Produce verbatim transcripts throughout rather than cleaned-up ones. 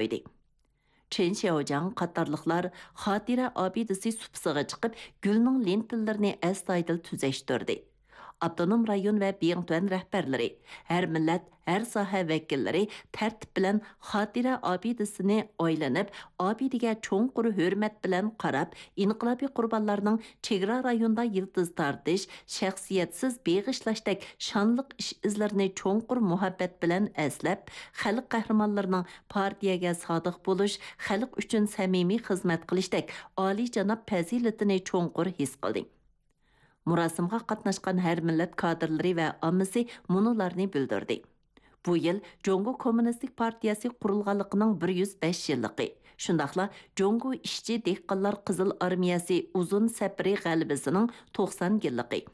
قويدى. چېن شياۋجياڭ قاتارلىقلار خاتىرە ئابىدىسى سۇپىسىغا چىقىپ، گۈلنىڭ لېنتىلىرىنى ئەستايىدىل تۈزەشتۈردى. ئاپتونوم رايون ۋە بىڭتۈەن رەھبەرلىرى، ھەر مىللەت، ھەر ساھە ۋەكىللىرى تەرتىپ بىلەن خاتىرە ئابىدىسىنى ئايلىنىپ، ئابىدىگە چوڭقۇر ھۆرمەت بىلەن قاراپ، ئىنقىلابىي قۇربانلارنىڭ چېگرا رايوندا يىلتىز تارتىش، شەخسىيەتسىز بېغىشلاشتەك شانلىق ئىش-ئىزلىرىنى چوڭقۇر مۇھەببەت بىلەن ئەسلەپ، خەلق قەھرىمانلىرىنىڭ پارتىيەگە سادىق بولۇش، خەلق ئۈچۈن سەمىمىي خىزمەت قىلىشتەك ئالىيجاناب پەزىلىتىنى چوڭقۇر ھېس قىلدى. مۇراسىمغا قاتناشقان ھەر مىللەت كادىرلىرى ۋە ئاممىسى مۇنۇلارنى بىلدۈردى: بۇ يىل جۇڭگو كوممۇنىستىك پارتىيەسى قۇرۇلغانلىقىنىڭ بىر يۈز بەش يىللىقى، شۇنداقلا جۇڭگو ئىشچى دېھقانلار قىزىل ئارمىيەسى ئۇزۇن سەپىرى غەلىبىسىنىڭ توقسان يىللىقى.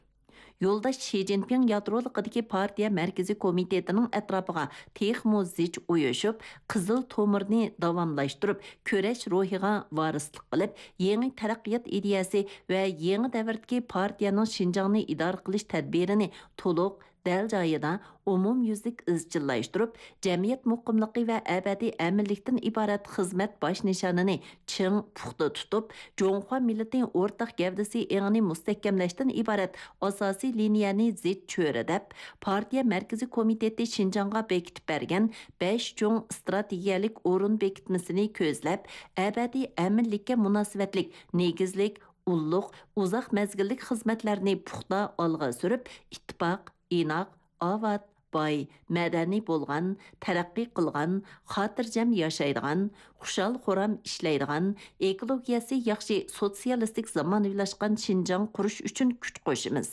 يولداش شى جىنپىڭ يادرولۇقىدىكى پارتىيە مەركىزىي كومىتېتىنىڭ ئەتراپىغا تېخىمۇ زىچ ئۇيۇشۇپ، قىزىل تومۇرنى داۋاملاشتۇرۇپ، كۈرەش روھىغا ۋارىسلىق قىلىپ، يېڭى تەرەققىيات ئىدىيەسى ۋە يېڭى دەۋردىكى پارتىيەنىڭ شىنجاڭنى ئىدارە قىلىش تەدبىرىنى تولۇق، دەل جايىدا، ئومۇميۈزلۈك ئىزچىللاشتۇرۇپ، جەمئىيەت مۇقىملىقى ۋە ئەبەدىي ئەمىنلىكتىن ئىبارەت خىزمەت باش نىشانىنى چىڭ، پۇختا تۇتۇپ، جۇڭخۇا مىللىتى ئورتاق گەۋدىسى ئېڭىنى مۇستەھكەملەشتىن ئىبارەت ئاساسىي لىنىيەنى زىچ چۆرىدەپ، پارتىيە مەركىزىي كومىتېتى شىنجاڭغا بېكىتىپ بەرگەن بەش چوڭ ئىستراتېگىيەلىك ئورۇن بېكىتمىسىنى كۆزلەپ، ئەبەدىي ئەمىنلىككە مۇناسىۋەتلىك نېگىزلىك، ئۇللۇق، ئۇزاق مەزگىللىك خىزمەتلەرنى پۇختا ئالغا سۈرۈپ، ئىتتىپاق، ئىناق، ئاۋات، باي، مەدەنىي بولغان، تەرەققىي قىلغان، خاتىرجەم ياشايدىغان، خۇشال-خۇرام ئىشلەيدىغان، ئېكولوگىيەسى ياخشى سوتسىيالىستىك زامانىۋىلاشقان شىنجاڭ قۇرۇش ئۈچۈن كۈچ قوشىمىز.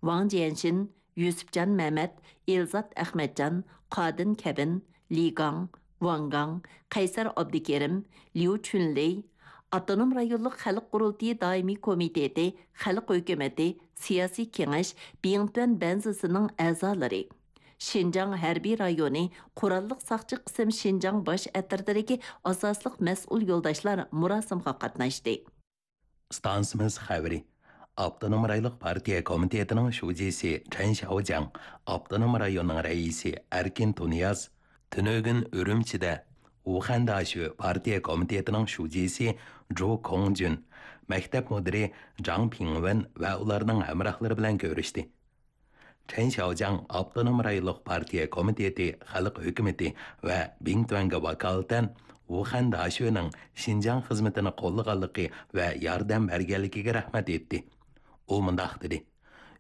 ۋاڭ جيەنشىن، يۈسۈپجان مەمەت، ئېلزات ئەخمەتجان، قادىن كەبىن، لى گاڭ، ۋاڭ گاڭ، قەيسەر ئابدۇكېرىم، ليۇ چۈنلېي، ئاپتونوم رايونلۇق خەلق قۇرۇلتىيى دائىمىي كومىتېتى، خەلق ھۆكۈمىتى، سىياسىي كېڭەش، بىڭتۈەن بەنزىسىنىڭ ئەزالىرى، شىنجاڭ ھەربىي رايونى قوراللىق ساقچى قىسىم شىنجاڭ باش ئەترىتىدىكى ئاساسلىق مەسئۇل يولداشلار مۇراسىمغا قاتناشتى. ئىستانسىمىز خەۋىرى. ئاپتونوم رايونلۇق پارتىيە كومىتېتىنىڭ شۇجىسى چەن شياۋجياڭ، ئاپتونوم رايوننىڭ رەئىسى ئەركىن تۇنىياز، تۈنۈگۈن ئۈرۈمچىدە ۋۇخەن داشۆ پارتىيە كومىتېتىنىڭ شۇجىسى جۇ كوڭجۈن، مەكتەپ مۇدىرى جاڭ پىڭۋېن ۋە ئۇلارنىڭ ھەمراھلىرى بىلەن كۆرۈشتى. چەن شياۋجياڭ ئاپتونوم رايونلۇق پارتىيە كومىتېتى خەلق ھۆكۈمىتى ۋە بىڭتۈەنگە ۋاكالىتەن ۋۇخەن داشۆنىڭ شىنجاڭ خىزمىتىنى قوللىغانلىقى ۋە ياردەم بەرگەنلىكىگە رەھمەت ئېيتتى. ئۇ مۇنداق دېدى: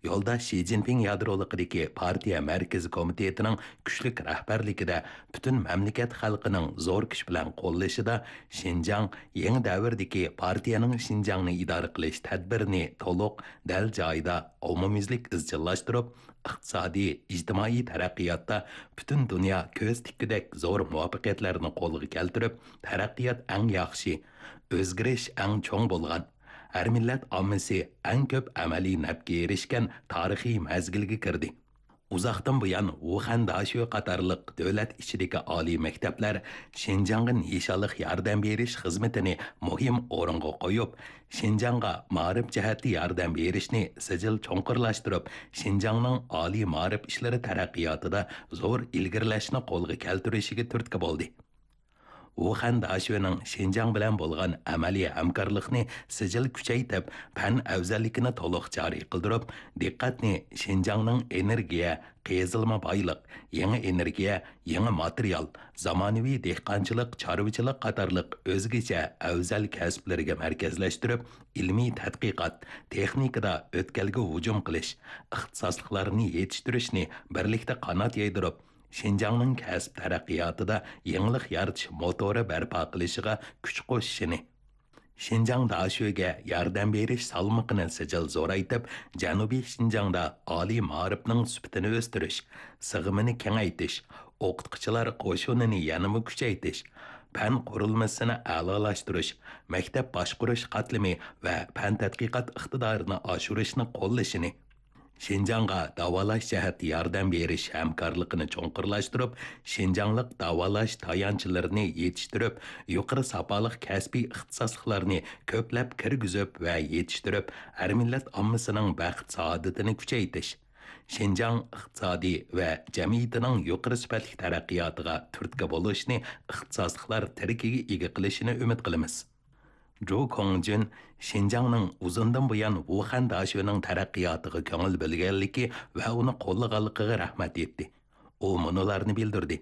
يولداش شى جىنپىڭ يادرولۇقىدىكى پارتىيە مەركىزىي كومىتېتىنىڭ كۈچلۈك رەھبەرلىكىدە پۈتۈن مەملىكەت خەلقىنىڭ زور كۈچ بىلەن قوللىشىدا شىنجاڭ يېڭى دەۋردىكى پارتىيەنىڭ شىنجاڭنى ئىدارە قىلىش تەدبىرىنى تولۇق، دەل جايىدا، ئومۇميۈزلۈك ئىزچىللاشتۇرۇپ، ئىقتىسادىي، ئىجتىمائىي تەرەققىياتتا پۈتۈن دۇنيا كۆز تىككۈدەك زور مۇۋەپپەقىيەتلەرنى قولغا كەلتۈرۈپ، تەرەققىيات ئەڭ ياخشى، ئۆزگىرىش ئەڭ چوڭ بولغان، ھەر مىللەت ئاممىسى ئەڭ كۆپ ئەمەلىي نەپكە ئېرىشكەن تارىخىي مەزگىلگە كىردى. ئۇزاقتىن بۇيان، ۋۇخەن داشۆ قاتارلىق دۆلەت ئىچىدىكى ئالىي مەكتەپلەر شىنجاڭغا نىشانلىق ياردەم بېرىش خىزمىتىنى مۇھىم ئورۇنغا قويۇپ، شىنجاڭغا مائارىپ جەھەتتە ياردەم بېرىشنى سىجىل چوڭقۇرلاشتۇرۇپ، شىنجاڭنىڭ ئالىي مائارىپ ئىشلىرى تەرەققىياتىدا زور ئىلگىرىلەشنى قولغا كەلتۈرۈشىگە تۈرتكە بولدى. ۋۇخەن داشۆنىڭ شىنجاڭ بىلەن بولغان ئەمەلىي ھەمكارلىقنى سىجىل كۈچەيتىپ، پەن ئەۋزەللىكىنى تولۇق جارى قىلدۇرۇپ، دىققەتنى شىنجاڭنىڭ ئېنېرگىيە، قېزىلما بايلىق، يېڭى ئېنېرگىيە، يېڭى ماتېرىيال، زامانىۋى دېھقانچىلىق، چارۋىچىلىق قاتارلىق ئۆزگىچە ئەۋزەل كەسىپلىرىگە مەركەزلەشتۈرۈپ، ئىلمىي تەتقىقات، تېخنىكىدا ئۆتكەلگە ھۇجۇم قىلىش، ئىختىساسلىقلارنى يېتىشتۈرۈشنى بىرلىكتە قانات يايدۇرۇپ، شىنجاڭنىڭ كەسىپ تەرەققىياتىدا يېڭىلىق يارىتىش موتورى بەرپا قىلىشىغا كۈچ قوشۇشىنى، شىنجاڭ داشۆگە ياردەم بېرىش سالمىقىنى سىجىل زورايتىپ، جەنۇبىي شىنجاڭدا ئالىي مائارىپنىڭ سۈپىتىنى ئۆستۈرۈش، سىغىمىنى كېڭەيتىش، ئوقۇتقۇچىلار قوشۇنىنى يەنىمۇ كۈچەيتىش، پەن قۇرۇلمىسىنى ئەلالاشتۇرۇش، مەكتەپ باشقۇرۇش قاتلىمى ۋە پەن تەتقىقات ئىقتىدارىنى ئاشۇرۇشنى قوللىشىنى، شىنجاڭغا داۋالاش جەھەتتە ياردەم بېرىش ھەمكارلىقىنى چوڭقۇرلاشتۇرۇپ، شىنجاڭلىق داۋالاش تايانچلىرىنى يېتىشتۈرۈپ، يۇقىرى ساپالىق كەسپىي ئىختىساسلىقلارنى كۆپلەپ كىرگۈزۈپ ۋە يېتىشتۈرۈپ، ھەر مىللەت ئاممىسىنىڭ بەخت-سائادىتىنى كۈچەيتىش، شىنجاڭ ئىقتىسادى ۋە جەمئىيىتىنىڭ يۇقىرى سۈپەتلىك تەرەققىياتىغا تۈرتكە بولۇشنى ئىختىساسلىقلار تىرىكىگە ئىگە قىلىشىنى ئۈمىد قىلىمىز. جۇ كوڭجۈن شىنجاڭنىڭ ئۇزۇندىن بۇيان ۋۇخەن داشۆنىڭ تەرەققىياتىغا كۆڭۈل بۆلگەنلىكى ۋە ئۇنى قوللىغانلىقىغا رەھمەت ئېيتتى. ئۇ مۇنۇلارنى بىلدۈردى: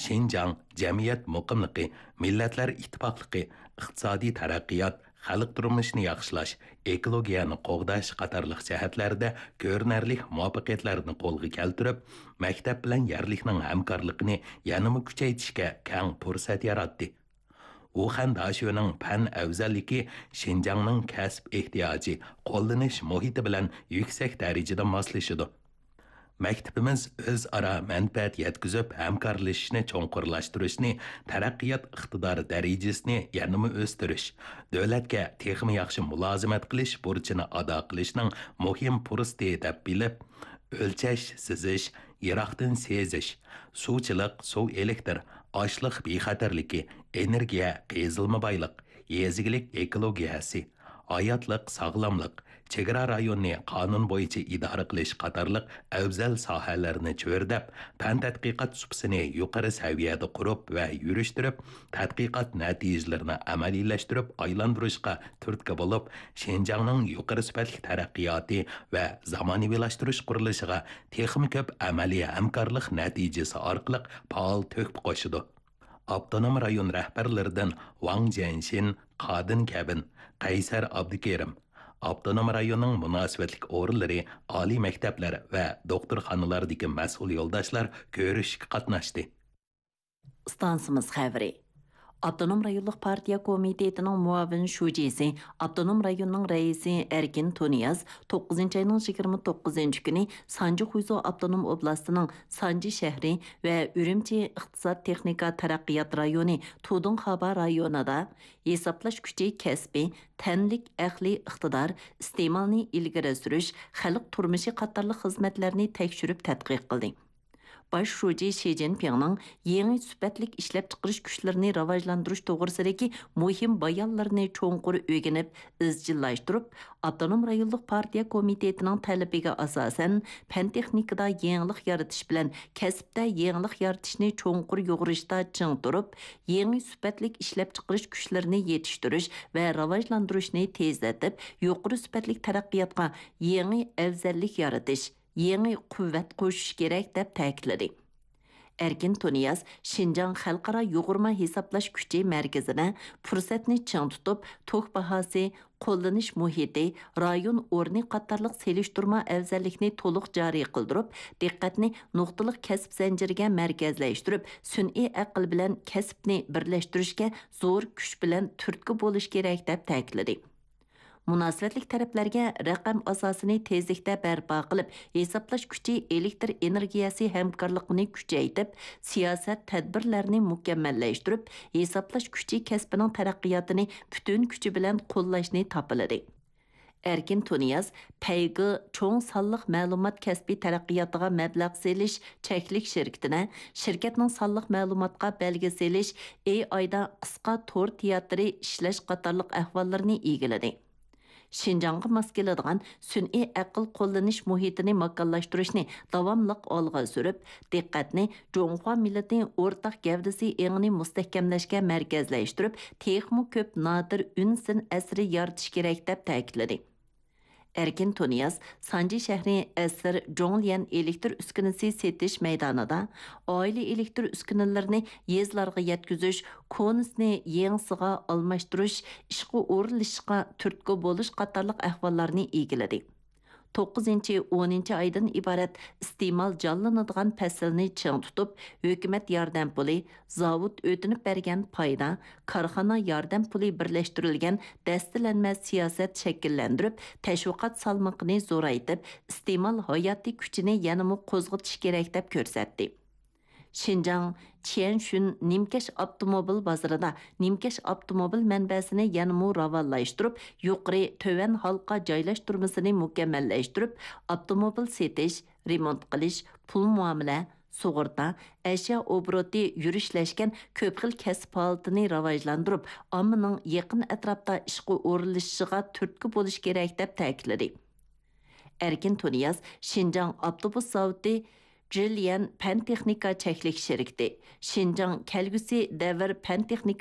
شىنجاڭ جەمئىيەت مۇقىملىقى، مىللەتلەر ئىتتىپاقلىقى، ئىقتىسادىي تەرەققىيات، خەلق تۇرمۇشىنى ياخشىلاش، ئېكولوگىيەنى قوغداش قاتارلىق جەھەتلەردە كۆرۈنەرلىك مۇۋەپپەقىيەتلەرنى قولغا كەلتۈرۈپ، مەكتەپ بىلەن يەرلىكنىڭ ھەمكارلىقىنى يەنىمۇ كۈچەيتىشكە كەڭ پۇرسەت ياراتتى. ۋۇخەن داشۆنىڭ پەن ئەۋزەللىكى شىنجاڭنىڭ كەسىپ ئېھتىياجى، قوللىنىش مۇھىتى بىلەن يۈكسەك دەرىجىدە ماسلىشىدۇ. مەكتىپىمىز ئۆزئارا مەنپەئەت يەتكۈزۈپ، ھەمكارلىشىشنى چوڭقۇرلاشتۇرۇشنى، تەرەققىيات ئىقتىدارى دەرىجىسىنى يەنىمۇ ئۆستۈرۈش، دۆلەتكە تېخىمۇ ياخشى مۇلازىمەت قىلىش بۇرچىنى ئادا قىلىشنىڭ مۇھىم پۇرسىتى دەپ بىلىپ، ئۆلچەش، سىزىش، يىراقتىن سېزىش، سۇچىلىق، سۇ ئېلېكتر، ئاشلىق بىخەتەرلىكى، ئېنېرگىيە، قېزىلما بايلىق، يېزا ئىگىلىك ئېكولوگىيەسى، ھاياتلىق، ساغلاملىق، چېگرا رايونىنى قانۇن بويىچە ئىدارە قىلىش قاتارلىق ئەۋزەل ساھەلەرنى چۆرىدەپ، پەن تەتقىقات سۇپىسىنى يۇقىرى سەۋىيەدە قۇرۇپ ۋە يۈرۈشتۈرۈپ، تەتقىقات نەتىجىلىرىنى ئەمەلىيلەشتۈرۈپ ئايلاندۇرۇشقا تۈرتكە بولۇپ، شىنجاڭنىڭ يۇقىرى سۈپەتلىك تەرەققىياتى ۋە زامانىۋىلاشتۇرۇش قۇرۇلۇشىغا تېخىمۇ كۆپ ئەمەلىي ھەمكارلىق نەتىجىسى ئارقىلىق پائال تۆھپە قوشىدۇ. ئاپتونوم رايون رەھبەرلىرىدىن ۋاڭ جيەنشىن، قادىن كەبىن، قەيسەر ئابدۇكېرىم، ئاپتونوم رايوننىڭ مۇناسىۋەتلىك ئورۇنلىرى، ئالىي مەكتەپلەر ۋە دوختۇرخانىلاردىكى مەسئۇل يولداشلار كۆرۈشۈشكە قاتناشتى. ئىستانسىمىز خەۋىرى. ئاپتونوم رايونلۇق پارتىيە كومىتېتىنىڭ مۇئاۋىن شۇجىسى، ئاپتونوم رايوننىڭ رەئىسى ئەركىن تۇنىياز توققۇزىنچى ئاينىڭ يىگىرمە توققۇزىنچى كۈنى سانجى خۇيزۇ ئاپتونوم ئوبلاستىنىڭ سانجى شەھىرى ۋە ئۈرۈمچى ئىقتىساد تېخنىكا تەرەققىيات رايونى تۇدۇڭخابا رايونىدا ھېسابلاش كۈچى كەسپى، تەنلىك ئەقلىي ئىقتىدار، ئىستېمالنى ئىلگىرى سۈرۈش، خەلق تۇرمۇشى قاتارلىق خىزمەتلەرنى تەكشۈرۈپ تەتقىق قىلدى. باش شۇجى شى جىنپىڭنىڭ يېڭى سۈپەتلىك ئىشلەپچىقىرىش كۈچلىرىنى راۋاجلاندۇرۇش توغرىسىدىكى مۇھىم بايانلىرىنى چوڭقۇر ئۆگىنىپ، ئىزچىللاشتۇرۇپ، ئاپتونوم رايونلۇق پارتىيە كومىتېتىنىڭ تەلىپىگە ئاساسەن، پەن-تېخنىكىدا يېڭىلىق يارىتىش بىلەن كەسىپتە يېڭىلىق يارىتىشنى چوڭقۇر يۇغۇرۇشتا چىڭ تۇرۇپ، يېڭى سۈپەتلىك ئىشلەپچىقىرىش كۈچلىرىنى يېتىشتۈرۈش ۋە راۋاجلاندۇرۇشنى تېزلىتىپ، يۇقىرى سۈپەتلىك تەرەققىياتقا يېڭى ئەۋزەللىك يارىتىش، يېڭى قۇۋۋەت قوشۇش كېرەك، دەپ تەكىتلىدى. ئەركىن تۇنىياز شىنجاڭ خەلقئارا يۇغۇرما ھېسابلاش كۈچى مەركىزىدە پۇرسەتنى چىڭ تۇتۇپ، توك باھاسى، قوللىنىش مۇھىتى، رايون ئورنى قاتارلىق سېلىشتۇرما ئەۋزەللىكنى تولۇق جارى قىلدۇرۇپ، دىققەتنى نۇقتىلىق كەسىپ زەنجىرىگە مەركەزلەشتۈرۈپ، سۈنئىي ئەقىل بىلەن كەسىپنى بىرلەشتۈرۈشكە زور كۈچ بىلەن تۈرتكە بولۇش كېرەك، دەپ تەكىتلىدى. مۇناسىۋەتلىك تەرەپلەرگە رەقەم ئاساسىنى تېزلىكتە بەرپا قىلىپ، ھېسابلاش كۈچى، ئېلېكتر ئېنېرگىيەسى ھەمكارلىقىنى كۈچەيتىپ، سىياسەت، تەدبىرلەرنى مۇكەممەللەشتۈرۈپ، ھېسابلاش كۈچى كەسپىنىڭ تەرەققىياتىنى پۈتۈن كۈچى بىلەن قوللاشنى تاپىلىدى. ئەركىن تۇنىياز پەيگې چوڭ سانلىق مەلۇمات كەسپى تەرەققىياتىغا مەبلەغ سېلىش چەكلىك شىركىتىنى، شىركەتنىڭ سانلىق مەلۇماتقا بەلگە سېلىش، ئېي ئايدا قىسقا تور تىياتىرى ئىشلەش قاتارلىق ئەھۋاللىرىنى ئىگىلىدى. شىنجاڭغا ماس كېلىدىغان سۈنئىي ئەقىل قوللىنىش مۇھىتىنى ماكانلاشتۇرۇشنى داۋاملىق ئالغا سۈرۈپ، دىققەتنى جۇڭخۇا مىللىتى ئورتاق گەۋدىسى ئېڭىنى مۇستەھكەملەشكە مەركەزلەشتۈرۈپ، تېخىمۇ كۆپ نادىر ئۈن سىن ئەسىرى يارىتىش كېرەك، دەپ تەكىتلىدى. ئەركىن تۇنىياز سانجى شەھىرى ئەسىر جوڭليەن ئېلېكتر ئۈسكۈنىسى سېتىش مەيدانىدا ئائىلە ئېلېكتر ئۈسكۈنىلىرىنى يېزىلارغا يەتكۈزۈش، كونىسىنى يېڭىسىغا ئالماشتۇرۇش، ئىشقا ئورۇنلىشىشقا تۈرتكە بولۇش قاتارلىق ئەھۋاللارنى ئىگىلىدى. توققۇزىنچى، ئونىنچى ئايدىن ئىبارەت ئىستېمال جانلىنىدىغان پەسىلنى چىڭ تۇتۇپ، ھۆكۈمەت ياردەم پۇلى، زاۋۇت ئۆتۈنۈپ بەرگەن پايدا، كارخانا ياردەم پۇلى بىرلەشتۈرۈلگەن دەستىلەنمە سىياسەت شەكىللەندۈرۈپ، تەشۋىقات سالمىقىنى زورايتىپ، ئىستېمال ھاياتىي كۈچىنى يەنىمۇ قوزغىتىش كېرەك، دەپ كۆرسەتتى. شىنجاڭ چيەنشۈن نىمكەش ئاپتوموبىل بازىرىدا نىمكەش ئاپتوموبىل مەنبەسىنى يەنىمۇ راۋانلاشتۇرۇپ، يۇقىرى، تۆۋەن ھالقا جايلاشتۇرمىسىنى مۇكەممەللەشتۈرۈپ، ئاپتوموبىل سېتىش، رېمونت قىلىش، پۇل مۇئامىلە، سۇغۇرتا، ئەشيا ئوبوروتى يۈرۈشلەشكەن كۆپ خىل كەسىپ ھالىتىنى راۋاجلاندۇرۇپ، ئاممىنىڭ يېقىن ئەتراپتا ئىشقا ئورۇنلىشىشىغا تۈرتكە بولۇش كېرەك، دەپ تەكىتلىدى. ئەركىن تۇنىياز شىنجاڭ ئاپتوبۇس زاۋۇتى جىليەن پەن تېخنىكا چەكلىك شىركىتى، شىنجاڭ كەلگۈسى دەۋر پەن تېخنىكا